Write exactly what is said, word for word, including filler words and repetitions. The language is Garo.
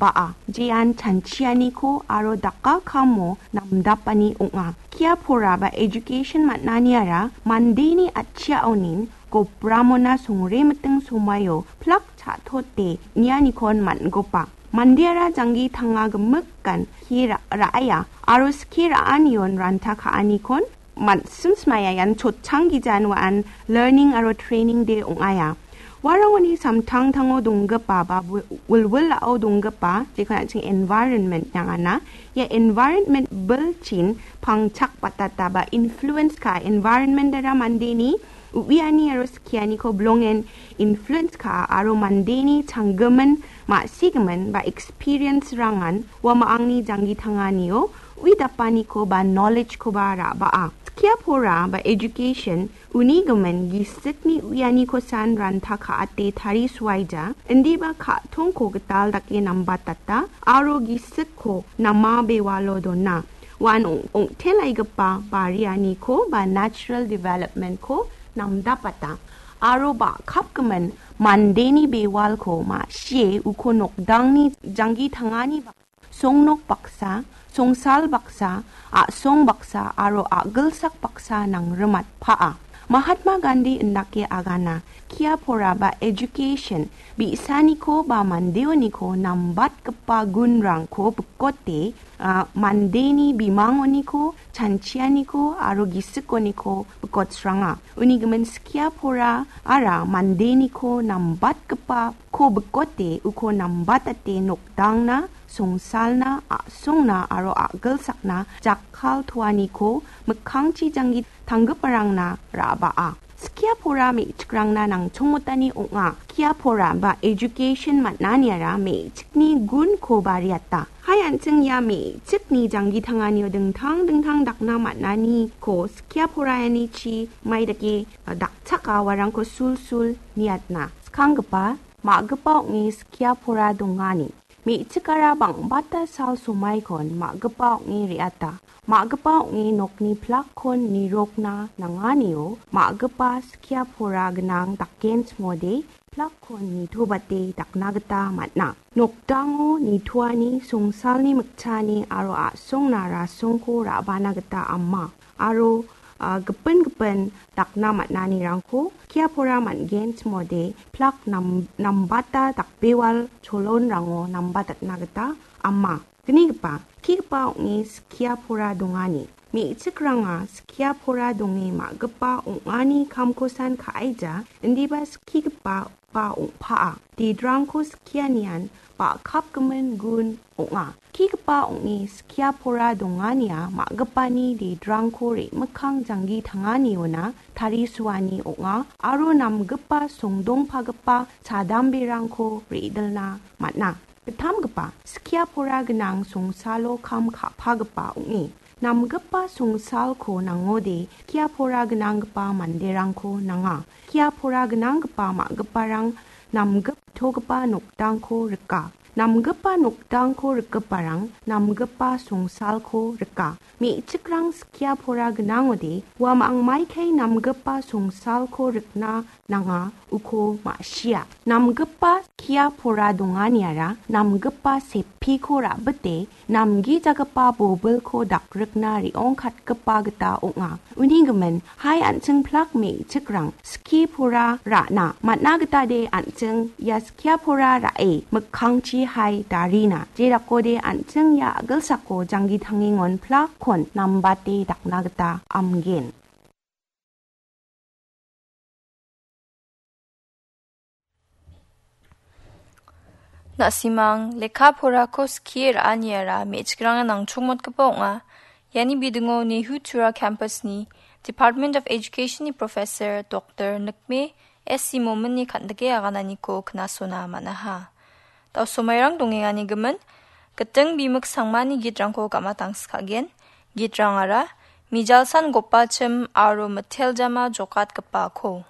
ba·a, jean chanchianiko aro dakakamo namdapani ong·a. Skia pora ba education man·aniara mandeni atchiaonin gopramona songremiting somaio plak cha·tote nianikon man·gopa. Mandeara janggi tanga gimikan skie ra-, ra·aia aro skie ra·anion ranta ka·anikon man-, sim smaya ian chotchang gijan wa·an learning aro training day ong·aia. Uarangoni samtangtango donggipa ba wi-, wilwilao donggipa, jekon an·ching environment nangana. Ia environment bilchin pangchak batata ba influence ka environment ara mandeni uiani aro skianiko bilongen influence ka aro mandeni changgimin, ma·sigimin ba experience rangan ua ma·angni janggi tanganio ui dapaniko ba knowledge koba ra·baa. Skia pora ba education uni gimin gisikni uianikosan ranta ka·ate tarisuaija, indiba ka·tongko gital dake nambatata aro gisikko nama bewalo dona. Uan ong-, ong·telaigipa barianiko ba natural development-ko namdapata. Aro ba·kapgimin mandeni bewalko ma·sie uko nokdangni janggi tangani ba-, songnok baksa, songsal baksa, a·song baksa aro a·gilsak baksa nangrimatpaa. Mahatma Gandhi indake agana, skia pora ba education, bi·saniko ba mandeoniko nambatgipa gunrangko bikote, a, mandeni bimangoniko, chanchianiko aro gisikoniko bikotsranga. Uni gimin skia pora ara mandeniko nambatgipa ko bikote uko nambatate nokdangna, songsalna, a·songna aro a·gilsakna jakkal toaniko mikkangchi janggi tanggiparangna ra·baa. Skia pora me·chikrangna nangchongmotani ong·a. Skia pora ba education man·aniara me·chikni gunko bariata. Hai an·ching ia me·chikni janggi tanganio dingtang dingtang dakna man·aniko skia poraianichi mai dake, a, dakchaka uarangko sulsul niatna. Skanggipa, ma·gipa ong·e skia pora dongani. Me·chikara bang·bata sal somaikon ma·gipa ong·e re·ata. Ma·gipa ong·e nokni plakkon nirokna nanganio ma·gipa skia pora gnang dakenchimode plakkon nitobate dakna gita man·a. Nokdango nitoani songsalni mikchaani aro a·songna rasongko ra·bana gita ama. Aro, a, gipin gipin dakna man·anirangko skia pora man·genchimode plak nam-, nambata dakbewal cholonrango nambatatna gita ama. Gnigipa, skigipa ong·e skia pora dongani. Me·chikranga skia pora donge ma·gipa ong·ani kamkosan ka·aija, indiba skigipa ba ong·paa. Dedrangko skianian ba·kapgimin gun ong·a. Skigipa ong·e skia pora dongania ma·gipani dedrangko re·mikkang janggi tanganiona tarisuani ong·a aro namgipa songdongpagipa chadamberangko re·dilna man·a. Gittamgipa, skia pora gnang songsalo kam ka·pagipa ong·e. Namgipa songsalko nangode skia pora gnanggipa manderangko nanga. Skia pora gnanggipa ma·giparang namgiptogipa nokdangko rika. Namgipa nokdangko rikgiparang namgipa songsalko rika. Me·chikrang skia pora gnangode, uamang maikai namgipa songsalko rikna nanga uko ma·sia. Namgipa skia pora donganiara namgipa sepiko ra·bite namgijagipa bobilko dakrikna re·ongkatgipa gita ong·a. Uni gimin, hai an·ching plak me·chikrang skie pora ra·na man·a gita de an·ching ia skia pora ra·e mikkangchi hai darina. Jerakode an·ching ia a·gilsako janggi tangengon plakkon nambate dakna gita amgen. Na·simang lekka porako skie ra·aniara me·chikrangna nangchongmotgipa ong·a. Iani bidingo Nehu Tura Campus-ni Department of Education-ni Professor Doktor Nikme S C Momin-ni kan·dike agananiko knasona man·aha. Dao somairang dongengani gimin, giting bimik sangmani gitrangko gam·atangskagen. Gitrangara Mijalsan Gopachim aro Miteljama Jokatgipako.